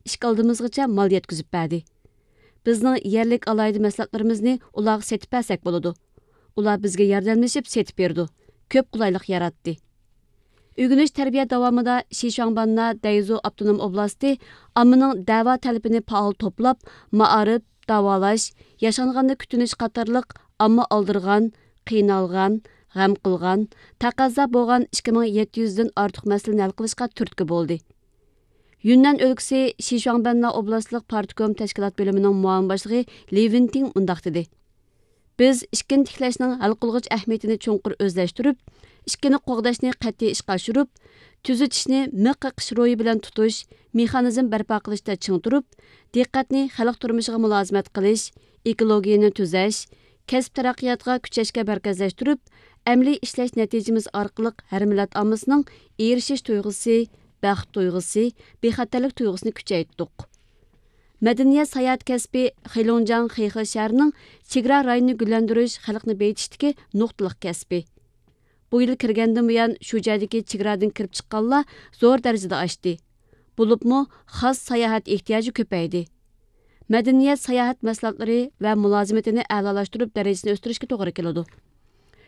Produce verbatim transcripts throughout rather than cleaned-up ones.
ئىشىك ئالدىمىزغىچە مال يەتكۈزۈپ بەردى. بىزنىڭ يەرلىك ئالاھىدە مەھسۇلاتلىرىمىزنى ئۇلارغا سېتىپ بەرسەك بولىدۇ. ئۇلار بىزگە ياردەملىشىپ سېتىپ بېرىدۇ. كۆپ قولايلىق ياراتتى. ئۆگىنىش تەربىيە داۋامىدا شىشۇاڭبەننا دەيزۇ ئاپتونوم ئوبلاستى ئاممىنىڭ دەۋا تەلىپىنى پائال توپلاپ، مائارىپ، داۋالاش، ياشانغاندا كۈتۈنۈش قاتارلىق ئامما ئالدىرىغان، قىينالغان، غەم قىلغان، تەقەززا بولغان ئىككى مىڭ يەتتە يۈزدىن ئارتۇق مەسىلىنى ھەل قىلىشقا تۈرتكە بولدى. يۈننەن ئۆلكىسى شىشۇاڭبەننا ئوبلاستلىق پارتكوم تەشكىلات بۆلۈمىنىڭ مۇئاۋىن باشلىقى لى ۋېنتىڭ مۇنداق دېدى: بىز ئىككىنى تىكلەشنىڭ ھەل قىلغۇچ ئەھمىيىتىنى چوڭقۇر ئۆزلەشتۈرۈپ، ئىككىنى قوغداشنى قەتئىي ئىشقا ئاشۇرۇپ، تۈزىتىشنى مىخ قېقىش روھى بىلەن تۇتۇش، مېخانىزم بەرپا قىلىشتا چىڭ تۇرۇپ، دىققەتنى خەلق تۇرمۇشىغا مۇلازىمەت قىلىش، ئېكولوگىيەنى تۈزەش، كەسىپ تەرەققىياتىغا كۈچەشكە مەركەزلەشتۈرۈپ، ئەمەلىي ئىشلەش نەتىجىمىز ئارقىلىق ھەر مىللەت ئاممىسىنىڭ ئېرىشىش تۇيغۇسى، بەخت تۇيغۇسى، بىخەتەرلىك تۇيغۇسىنى كۈچەيتتۇق. مەدەنىيەت ساياھەت كەسپى خېلۇڭجياڭ خېخې شەھىرىنىڭ چېگرا رايونىنى گۈللەندۈرۈش، خەلقنى بېيىتىشتىكى نۇقتىلىق كەسپى. بۇ يىل كىرگەندىن بۇيان، شۇ جايدىكى چېگرادىن كىرىپ چىققانلار زور دەرىجىدە ئاشتى. بولۇپمۇ خاس ساياھەت ئېھتىياجى كۆپەيدى. مەدەنىيەت ساياھەت مەھسۇلاتلىرى ۋە مۇلازىمىتىنى ئەلالاشتۇرۇپ، دەرىجىسىنى ئۆستۈرۈشكە توغرا كېلىدۇ.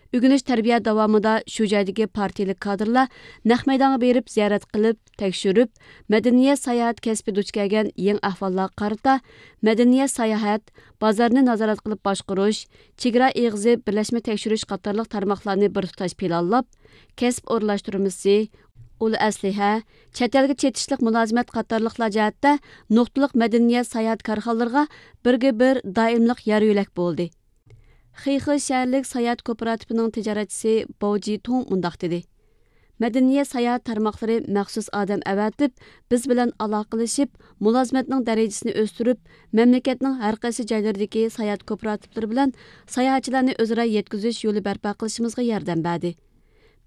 ئۆگىنىش تەربىيە داۋامىدا شۇ جايدىكى پارتىيىلىك كادىرلار نەق مەيدانغا بېرىپ زىيارەت قىلىپ، تەكشۈرۈپ، مەدەنىيەت ساياھەت كەسپى دۇچ كەلگەن يېڭى ئەھۋاللارغا قارىتا، مەدەنىيەت ساياھەت، بازارنى نازارەت قىلىپ باشقۇرۇش، چېگرا ئېغىزى بىرلەشمە تەكشۈرۈش قاتارلىق تارماقلارنى بىر تۇتاش پىلانلاپ، كەسىپ ئورۇنلاشتۇرمىسى، ئۇل ئەسلىھە، چەت ئەلگە چېتىشلىق مۇلازىمەت قاتارلىقلار جەھەتتە نۇقتىلىق مەدەنىيەت ساياھەت كارخانىلىرىغا بىرگە بىر دائىملىق يار يۆلەك بولدى. خېخې شەھەرلىك ساياھەت كوپىراتىپىنىڭ تىجارەتچىسى باۋ جىتۇڭ مۇنداق دېدى: مەدەنىيەت ساياھەت تارماقلىرى مەخسۇس ئادەم ئەۋەتىپ، بىز بىلەن ئالاقىلىشىپ، مۇلازىمەتنىڭ دەرىجىسىنى ئۆستۈرۈپ، مەملىكەتنىڭ ھەر قايسى جايلىرىدىكى ساياھەت كوپىراتىپلىرى بىلەن ساياھەتچىلەرنى ئۆزئارا يەتكۈزۈش يولى بەرپا قىلىشىمىزغا ياردەم بەردى.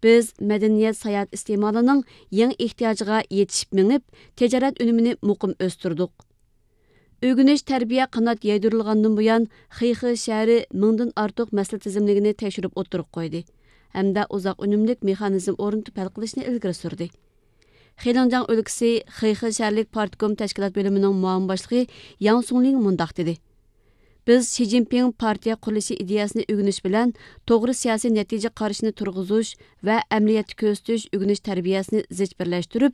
بىز مەدەنىيەت ساياھەت ئىستېمالىنىڭ يېڭى ئېھتىياجىغا يېتىشىپ مېڭىپ، تىجارەت ئۈنۈمىنى مۇقىم ئۆستۈردۇق. ئۆگىنىش تەربىيە قانات يايدۇرۇلغاندىن بۇيان، خېخې شەھىرى مىڭدىن ئارتۇق مەسىلە تىزىملىكىنى تەكشۈرۈپ ئوتتۇرىغا قويدى ھەمدە ئۇزاق ئۈنۈملۈك مېخانىزم ئورنىتىپ ھەل قىلىشنى ئىلگىرى سۈردى. خېلىڭجياڭ ئۆلكىسى خېخې شەھەرلىك پارتكوم تەشكىلات بۆلۈمىنىڭ مۇئاۋىن باشلىقى ياڭ سۇڭلىڭ مۇنداق دېدى: بىز شى جىنپىڭ پارتىيە قۇرۇلۇشى ئىدىيەسىنى ئۆگىنىش بىلەن توغرا سىياسىي نەتىجە قارىشىنى تۇرغۇزۇش ۋە ئەمەلىيەتتە كۆرسىتىش ئۆگىنىش تەربىيەسىنى زىچ بىرلەشتۈرۈپ،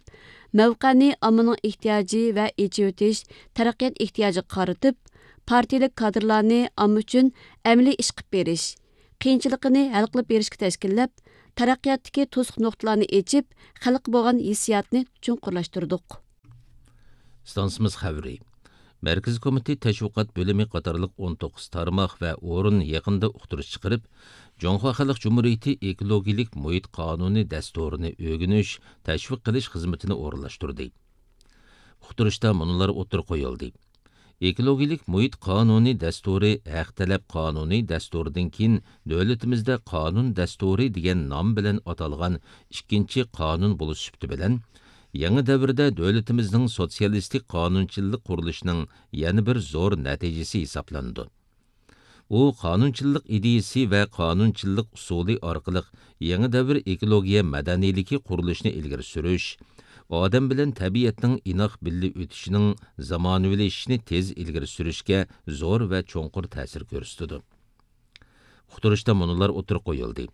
مەۋقەنى ئاممىنىڭ ئېھتىياجى ۋە ئېچىۋېتىش، تەرەققىيات ئېھتىياجىغا قارىتىپ، پارتىيىلىك كادىرلارنى ئامما ئۈچۈن ئەمەلىي ئىش قىلىپ بېرىش، قىيىنچىلىقىنى ھەل قىلىپ بېرىشكە تەشكىللەپ، تەرەققىياتتىكى توسۇق نۇقتىلارنى ئېچىپ، خەلققە بولغان ھېسسىياتنى چوڭقۇرلاشتۇردۇق. ئىستانسىمىز خەۋىرى. مەركىزىي كومىتېت تەشۋىقات بۆلۈمى قاتارلىق ئون توققۇز تارماق ۋە ئورۇن يېقىندا ئۇقتۇرۇش چىقىرىپ، جۇڭخۇا خەلق جۇمھۇرىيىتى ئېكولوگىيىلىك مۇھىت قانۇنى دەستۇرىنى ئۆگىنىش، تەشۋىق قىلىش خىزمىتىنى ئورۇنلاشتۇردى. ئۇقتۇرۇشتا مۇنۇلار ئوتتۇرىغا قويۇلدى. ئېكولوگىيىلىك مۇھىت قانۇنى دەستۇرى ھەق تەلەپ قانۇنى دەستۇرىدىن كېيىن دۆلىتىمىزدە قانۇن دەستۇرى دېگەن نام بىلەن ئاتالغان ئىككىنچى قانۇن بولۇش سۈپىتى بىلەن، يېڭى دەۋردە دۆلىتىمىزنىڭ سوتسىيالىستىك قانۇنچىللىق قۇرۇلۇشىنىڭ يەنە بىر زور نەتىجىسى ھېسابلىنىدۇ. ئۇ قانۇنچىللىق ئىدىيىسى ۋە قانۇنچىللىق ئۇسۇلى ئارقىلىق يېڭى دەۋر ئېكولوگىيە مەدەنىيلىكى قۇرۇلۇشىنى ئىلگىرى سۈرۈش، ئادەم بىلەن تەبىئەتنىڭ ئىناق بىللە ئۆتۈشىنىڭ زامانىۋىلىشىشىنى تېز ئىلگىرى سۈرۈشكە زور ۋە چوڭقۇر تەسىر كۆرسىتىدۇ. ئۇقتۇرۇشتا مۇنۇلار ئوتتۇرىغا قويۇلدى.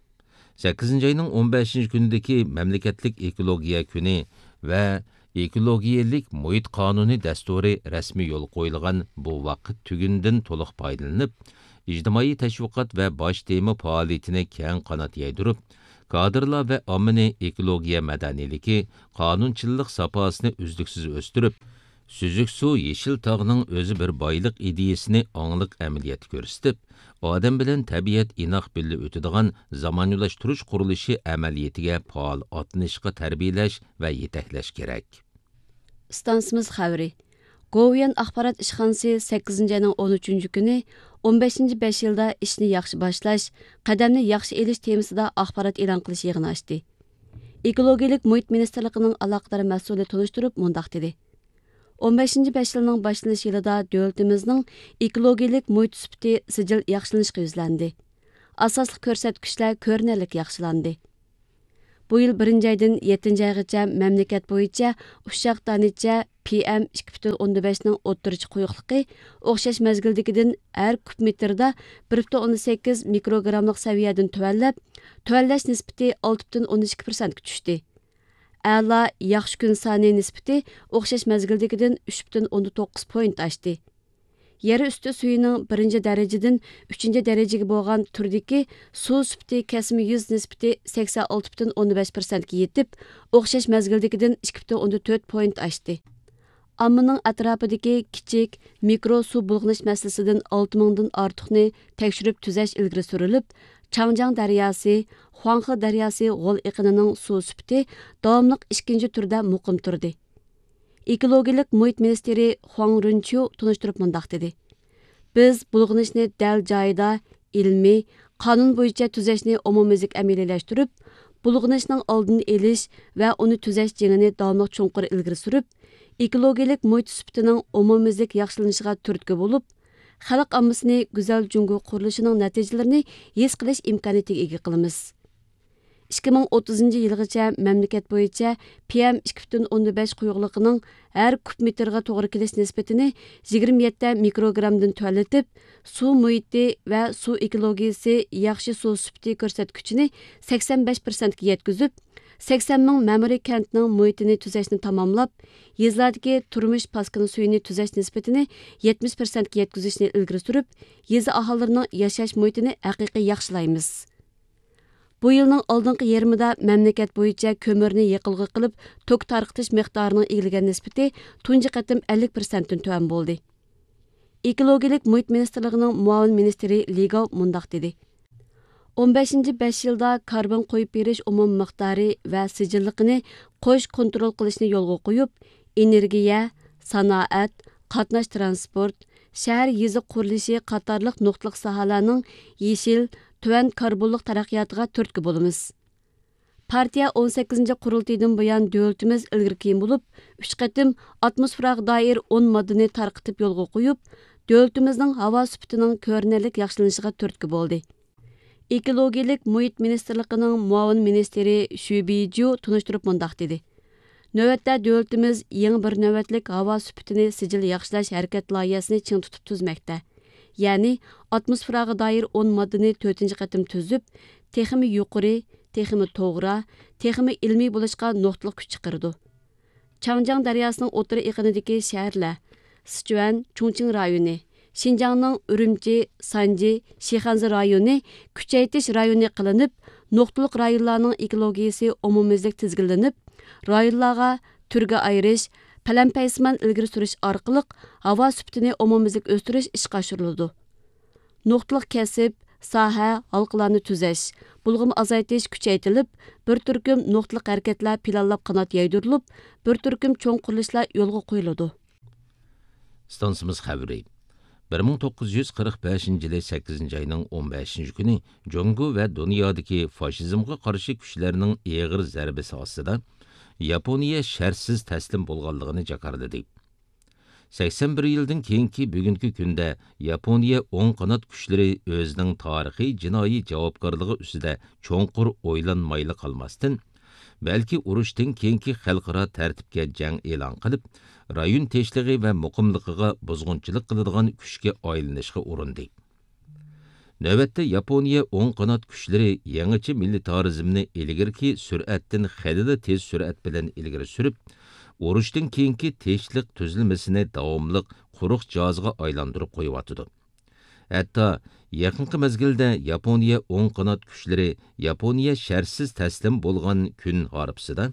سەككىزىنچى ئاينىڭ ئون بەشىنچى كۈنىدىكى مەملىكەتلىك ئېكولوگىيە كۈنى ۋە ئېكولوگىيەلىك مۇھىت قانۇنى دەستۇرى رەسمىي يولغا قويۇلغان بۇ ۋاقىت تۈگۈنىدىن تولۇق پايدىلىنىپ، ئىجتىمائىي تەشۋىقات ۋە باش تېما پائالىيىتىنى كەڭ قانات يايدۇرۇپ، كادىرلار ۋە ئاممىنى ئېكولوگىيە مەدەنىيلىكى، قانۇنچىللىق ساپاسىنى ئۈزلۈكسىز ئۆستۈرۈپ، سۈزۈك سۇ يېشىل تاغنىڭ ئۆزى بىر بايلىق ئىدىيىسىنى ئاڭلىق ئەمەلىيەتتە كۆرسىتىپ، ئادەم بىلەن تەبىئەت ئىناق بىللە ئۆتىدىغان زامانىۋىلاشتۇرۇش قۇرۇلۇشى ئەمەلىيىتىگە پائال ئاتلىنىشقا تەربىيەلەش ۋە يېتەكلەش كېرەك. ئىستانسىمىز خەۋىرى. گوۋۇيۈەن ئاخبارات ئىشخانىسى سەككىزىنچى ئاينىڭ ئون ئۈچىنچى كۈنى ئون بەشىنچى بەش يىلدا ئىشنى ياخشى باشلاش، قەدەمنى ياخشى ئېلىش تېمىسىدا ئاخبارات ئېلان قىلىش يىغىنى ئاچتى. ئېكولوگىيىلىك مۇھىت مىنىستىرلىقىنىڭ ئالاقىدار مەسئۇلى تونۇشتۇرۇپ مۇنداق دېدى: ئون بەشىنچى بەش يىلنىڭ باشلىنىش يىلىدا دۆلىتىمىزنىڭ ئېكولوگىيىلىك مۇھىت سۈپىتى سىجىل ياخشىلىنىشقا يۈزلەندى. ئاساسلىق كۆرسەتكۈچلەر كۆرۈنەرلىك ياخشىلاندى. بۇ يىل بىرىنچى ئايدىن يەتتىنچى ئايغىچە مەملىكەت بويىچە ئۇششاق دانىچە پىئەم ئىككى پۈتۈن ئوندىن بەشنىڭ ئوتتۇرىچە قويۇقلۇقى ئوخشاش مەزگىلدىكىدىن ھەر كۇب مېتىردا بىر پۈتۈن ئوندىن سەككىز مىكروگراملىق سەۋىيەدىن تۆۋەنلەپ، تۆۋەنلەش نىسبىتى ئالتە پۈتۈن ئوندىن ئىككى پىرسەنتكە چۈشتى. ئەلا، ياخشى كۈن سانى نىسبىتى ئوخشاش مەزگىلدىكىدىن ئۈچ پۈتۈن ئوندىن توققۇز پوينت ئاشتى. يەر ئۈستى سۈيىنىڭ بىرىنچى دەرىجىدىن ئۈچىنچى دەرىجىگە بولغان تۈردىكى سۇ سۈپىتى كەسمە يۈز نىسبىتى سەكسەن ئالتە پۈتۈن ئوندىن بەش پىرسەنتكە يېتىپ، ئوخشاش مەزگىلدىكىدىن ئىككى پۈتۈن ئوندىن تۆت پوينت ئاشتى. ئاممىنىڭ ئەتراپىدىكى كىچىك، مىكرو سۇ بۇلغىنىش مەسىلىسىدىن ئالتە مىڭدىن ئارتۇقنى تەكشۈرۈپ تۈزەش ئىلگىرى سۈرۈلۈپ، چاڭجياڭ دەرياسى، خۇاڭخې دەرياسى غول ئېقىنىنىڭ سۇ سۈپىتى داۋاملىق ئىككىنچى تۈردە مۇقىم تۇردى. ئېكولوگىيەلىك مۇھىت مىنىستىرى خۇاڭ رۇنچيۇ تونۇشتۇرۇپ مۇنداق دېدى: بىز بۇلغىنىشنى دەل جايىدا، ئىلمىي، قانۇن بويىچە تۈزەشنى ئومۇميۈزلۈك ئەمەلىيلەشتۈرۈپ، بۇلغىنىشنىڭ ئالدىنى ئېلىش ۋە ئۇنى تۈزەش جېڭىنى داۋاملىق چوڭقۇر ئىلگىرى سۈرۈپ، ئېكولوگىيەلىك مۇھىت سۈپىتىنىڭ ئومۇميۈزلۈك ياخشىلىنىشىغا تۈرتكە بولۇپ، خەلق ئاممىسىنى گۈزەل جۇڭگو قۇرۇلۇشىنىڭ نەتىجىلىرىنى ھېس قىلىش ئىمكانىيىتىگە ئىگە قىلىمىز. ئىككى مىڭ ئوتتۇزىنچى يىلغىچە مەملىكەت بويىچە پىئەم ئىككى پۈتۈن ئوندىن بەش قويۇقلۇقىنىڭ ھەر كۇب مېتىرغا توغرا كېلىش نىسبىتىنى يىگىرمە يەتتە مىكروگرامدىن تۆۋەنلىتىپ، سۇ مۇھىتى ۋە سۇ ئېكولوگىيىسى ياخشى سۇ سۈپىتى كۆرسەتكۈچىنى سەكسەن بەش پىرسەنتكە يەتكۈزۈپ، سەكسەن مىڭ مەمۇرىي كەنتنىڭ مۇھىتىنى تۈزەشنى تاماملاپ، يېزىلاردىكى تۇرمۇش پاسكىنا سۈيىنى تۈزەش نىسبىتىنى يەتمىش پىرسەنتكە يەتكۈزۈشنى ئىلگىرى سۈرۈپ، يېزا ئاھالىلىرىنىڭ ياشاش مۇھىتىنى ھەقىقىي ياخشىلايمىز. بۇ يىلنىڭ ئالدىنقى يېرىمىدا مەملىكەت بويىچە كۆمۈرنى يېقىلغۇ قىلىپ، توك تارقىتىش مىقدارىنىڭ ئىگىلىگەن نىسبىتى تۇنجى قېتىم ئەللىك پىرسەنتتىن تۆۋەن بولدى. ئېكولوگىيەلىك مۇھىت مىنىستىرلىقىنىڭ مۇئاۋىن مىنىستىرى لى گاۋ مۇنداق دېدى: ئون بەشىنچى بەش يىلدا كاربون قويۇپ بېرىش ئومۇمىي مىقدارى ۋە سىجىللىقىنى قوش كونترول قىلىشنى يولغا قويۇپ، ئېنېرگىيە، سانائەت، قاتناش ترانسپورت، شەھەر يېزا قۇرۇلۇشى قاتارلىق نۇقتىلىق ساھەلەرنىڭ يېشىل، تۆۋەن كاربونلۇق تەرەققىياتىغا تۈرتكە بولىمىز. پارتىيە ئون سەككىزىنچى قۇرۇلتىيىدىن بۇيان دۆلىتىمىز ئىلگىرى كېيىن بولۇپ، ئۈچ قېتىم ئاتموسفېراغا دائىر ئون ماددىنى تارقىتىپ يولغا قويۇپ، دۆلىتىمىزنىڭ ھاۋا سۈپىتىنىڭ كۆرۈنەرلىك ياخشىلىنىشىغا تۈرتكە بولدى. ئېكولوگىيەلىك مۇھىت مىنىستىرلىقىنىڭ مۇئاۋىن مىنىستىرى شۈ بىجيۇ تونۇشتۇرۇپ مۇنداق دېدى: نۆۋەتتە دۆلىتىمىز يېڭى بىر نۆۋەتلىك ھاۋا سۈپىتىنى سىجىل ياخشىلاش ھەرىكەت لايىھەسىنى چىڭ تۇتۇپ تۈزمەكتە. يەنى ئاتموسفېراغا دائىر ئون ماددىنى تۆتىنچى قېتىم تۈزۈپ، تېخىمۇ يۇقىرى، تېخىمۇ توغرا، تېخىمۇ ئىلمىي بولۇشقا نۇقتىلىق كۈچ چىقىرىدۇ. چاڭجياڭ دەرياسىنىڭ ئوتتۇرا ئېقىنىدىكى شەھەرلەر، سىچۈەن، چۇڭچىڭ رايونى، شىنجاڭنىڭ ئۈرۈمچى، سانجى، شىخەنزە رايونى كۈچەيتىش رايونى قىلىنىپ، نۇقتىلىق رايونلارنىڭ ئېكولوگىيىسى ئومۇميۈزلۈك تىزگىنلىنىپ، رايونلارغا تۈرگە ئايرىش، پەلەمپەيسىمان ئىلگىرى سۈرۈش ئارقىلىق ھاۋا سۈپىتىنى ئومۇميۈزلۈك ئۆستۈرۈش ئىشقا ئاشۇرۇلىدۇ. نۇقتىلىق كەسىپ، ساھە، ھالقىلارنى تۈزەش، بۇلغىما ئازايتىش كۈچەيتىلىپ، بىر تۈركۈم نۇقتىلىق ھەرىكەتلەر پىلانلاپ قانات يايدۇرۇلۇپ، بىر تۈركۈم چوڭ قۇرۇلۇشلار يولغا قويۇلىدۇ. ئىستانسىمىز خەۋىرى. بىر مىڭ توققۇز يۈز قىرىق بەشىنچى يىلى سەككىزىنچى ئاينىڭ ئون بەشىنچى كۈنى جۇڭگو ۋە دۇنيادىكى فاشىزمغا قارشى كۈچلەرنىڭ ئېغىر زەربىسى ئاستىدا ياپونىيە شەرتسىز تەسلىم بولغانلىقىنى جاكارلىدى. سەكسەن بىر يىلدىن كېيىنكى بۈگۈنكى كۈندە ياپونىيە ئوڭ قانات كۈچلىرى ئۆزىنىڭ تارىخىي جىنايى جاۋابكارلىقى ئۈستىدە چوڭقۇر ئويلانمايلا قالماستىن، بەلكى ئۇرۇشتىن كېيىنكى خەلقئارا تەرتىپكە جەڭ ئېلان قىلىپ، رايون تىنچلىقى ۋە مۇقىملىقىغا بۇزغۇنچىلىق قىلىدىغان كۈچكە ئايلىنىشقا ئۇرۇندى. نۆۋەتتە ياپونىيە ئوڭ قانات كۈچلىرى يېڭىچە مىلىتارىزمنى ئىلگىرىكى سۈرئەتتىن خېلىلا تېز سۈرئەت بىلەن ئىلگىرى سۈرۈپ، ئۇرۇشتىن كېيىنكى تىنچلىق تۈزۈلمىسىنى داۋاملىق قۇرۇق جازغا ئايلاندۇرۇپ قويۇۋاتىدۇ. ھەتتا يېقىنقى مەزگىلدە ياپونىيە ئوڭ قانات كۈچلىرى ياپونىيە شەرتسىز تەسلىم بولغان كۈن ھارپىسىدا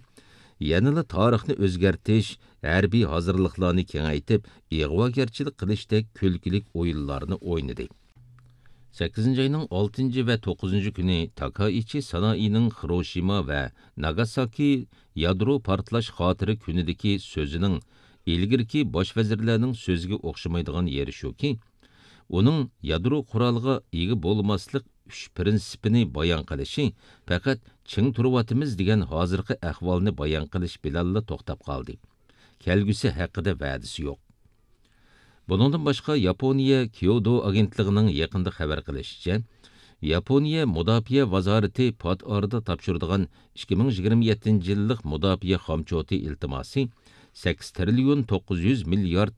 يەنىلا تارىخنى ئۆزگەرتىش، ھەربىي ھازىرلىقلارنى كېڭەيتىپ، ئىغۋاگەرچىلىك قىلىشتەك كۈلكىلىك ئويۇنلارنى ئوينىدى. سەككىزىنچى ئاينىڭ ئالتىنچى ۋە توققۇزىنچى كۈنى تاكائىچى سانائىنىڭ خىروشىما ۋە ناگاساكى يادرو پارتلاش خاتىرە كۈنىدىكى سۆزىنىڭ ئىلگىرىكى باش ۋەزىرلەرنىڭ سۆزىگە ئوخشىمايدىغان يېرى شۇكى، ئۇنىڭ يادرو قورالىغا ئىگە بولماسلىق ئۈچ پىرىنسىپىنى بايان قىلىشى پەقەت چىڭ تۇرۇۋاتىمىز دېگەن ھازىرقى ئەھۋالنى بايان قىلىش بىلەنلا توختاپ قالدى. كەلگۈسى ھەققىدە ۋەدىسى يوق. بۇنىڭدىن باشقا، ياپونىيە كيودو ئاگېنتلىقىنىڭ يېقىندا خەۋەر قىلىشىچە، ياپونىيە مۇداپىئە ۋازارىتى پات ئارىدا تاپشۇرىدىغان ئىككى مىڭ يىگىرمە يەتتىنچى يىللىق مۇداپىئە خامچوتى ئىلتىماسى سەككىز تىرىليون توققۇز يۈز مىليارد